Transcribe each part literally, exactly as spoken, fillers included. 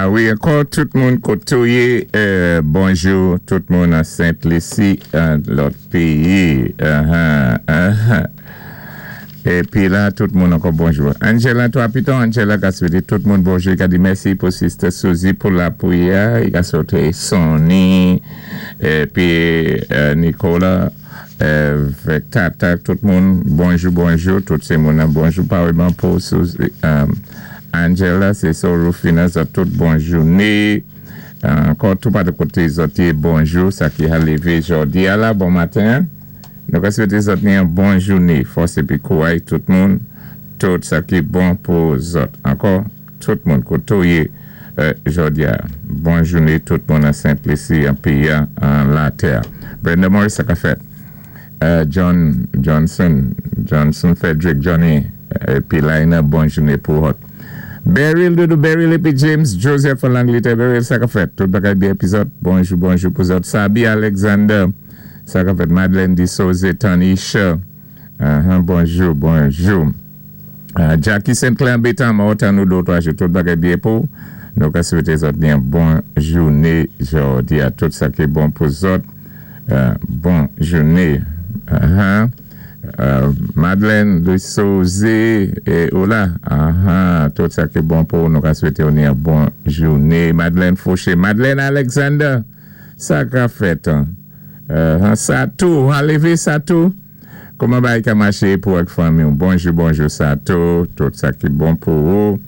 Ah wi, ankò tout moun koté yé, euh, bonjou tout moun an Sent Lisi, an lòt péyi. Uh-huh, uh-huh. Épi la, tout moun ankò bonjou. Angela, twa piton, Angela ka swété tout moun bonjou. I ka di mèsi pou Sister Suzy pou lapwiyè. I ka swété Sonny, épi euh, Nicolas, euh, avèk Tata, tout moun, bonjou, bonjou. Tout sé moun bonjou, parèyman pou Suzy. Euh, Angela, sé so Rufina, zòt tout bon jouné. Ankò tout pa de koté zòt bonjou, sa ki a lévé jòdi a la, bon maten. Nou ka swété zòt ni yon bon jouné, fòs épi kouway tout moun, tout sa ki bon pou zòt. Ankò, tout moun koté yé euh, jòdi a. Bon jouné tout moun an Sent Lisi, an péyi, an latè. Brenda Morris, sa ka fèt. Euh, John Johnson, Johnson Frederick, Johnny, épi Laina, bon jouné pou zòt. Beryl, Doudou Beryl épi James Joseph an Langlétè. Beryl, sa ka fèt. Tout bagay byen épi zòt. Bonjou, bonjou pou zòt. Sabi Alexander, sa ka fèt. Madeleine Dissose, Tanisha. Uh-huh, bonjou, bonjou. Uh, Jackie Saint-Clair Bétan, mwen nou dé twa jou. Tout bagay byen pou. Nou ka swété zòt byen bon jouné jòdi a tout sa ki bon pou zòt. Uh, bon jouné. Uh-huh. Euh, Madeleine Dissose é Ola, uh-huh, tout sa ki bon pou nou ka swété ni yon bon jouné. Madeleine Fauché, Madeleine Alexander, sa ka fèt. Hein? Uh, sa tou, an lévé sa tou. Kouman bagay ka maché pou ak fanmi? Bonjou, bonjou sa tou, tout sa ki bon pou ou.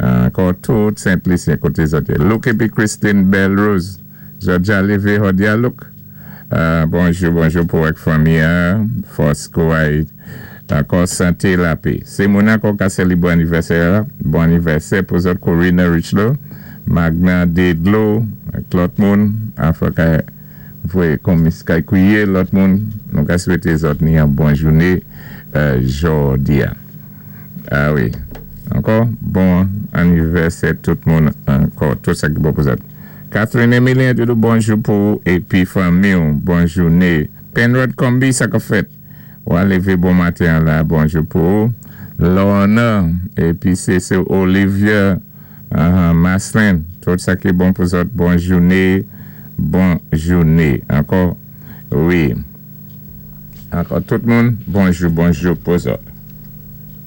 Ankò tout Sent Lisyen koté zòt. Luke épi Christine Belrose. Zòt ja lévé jòdi a Luke. Euh, bonjou, bonjou pou ak fanmi, hein? Fòs kouway, ankò santé lapè. Sé moun ankò ka sélébré anivèsè, bon anivèsè pou zòt Corina Richlow, Magna Dedlo, ak lòt moun, anfen ka voyé konmis kay kwiyé lòt moun, nou ka swété zòt ni yon bon jouné euh, jòdi a. Ah wi. Ankò, bon anivèsè tout moun ankò, tout sa ki bon pou zòt. Catherine Emilien, Doudou, bonjou pou épi fanmi, bon jouné. Penrod Combi, sa ka fèt. Ou a lévé bon maten la, bonjou pou. Lorna, épi sé sé Olivia uh, Maslin, tout sa ki bon pou zòt, bon jouné, bon jouné. Ankò, wi. Ankò tout moun, bonjou, bonjou pou zòt.